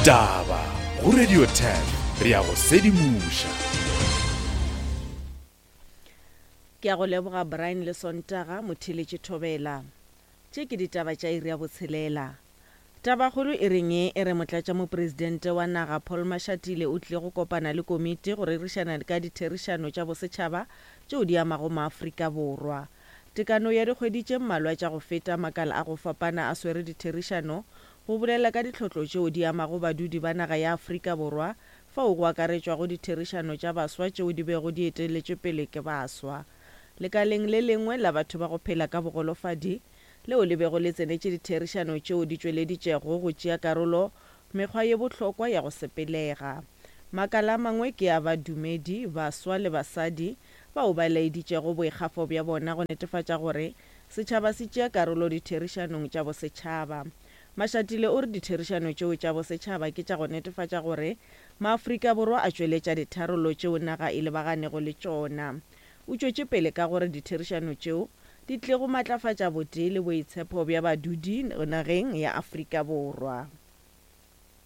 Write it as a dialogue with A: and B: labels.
A: Ditaba go Radio 10 re a go sedimoša.
B: Ke a go leboga Brian le Sontaga, Motheeletši Thobela. Tše ke ditaba tša iri ya botshelela. Tabakgolo e reng e re Motlatšamopresidente wa naga Paul Mashatile o tlile go kopana le komiti go rerišana ka ditherišano tša bosetšhaba tšeo di amago maAfrika Borwa. Tekano ya dikgwedi tše mmalwa tša go feta makala a go fapana a swere ditherišano go bolela ka ditlhotlo tšeo di amago badudi ba naga ya Afrika Borwa fao go akaretšwago ditherišano tša baswa tšeo di bego di eteletšwe pele ke baswa lekaleng le lengwe la batho ba go phela ka bogolofadi leo le bego le tsenetše ditherišano tšeo di tšweleditšego go tšea karolo mekgwa ye bohlokwa ya go sepelega. Makala a mangwe ke a badumedi, baswa le basadi bao ba laeditšego boikgafo bja bona go netefatša gore setšhaba se tšea karolo ditherišanong tša bosetšhaba. Mashatile o re ditherišano tšeo tša bosetšhaba ke tša go netefatša gore maAfrika Borwa a tšweletša ditharollo tšeo naga e lebaganego le tšona. O tšwetše pele ka gore ditherišano tšeo di tlile go matlafatša botee le boitshepho bja badudi nageng ya Afrika Borwa.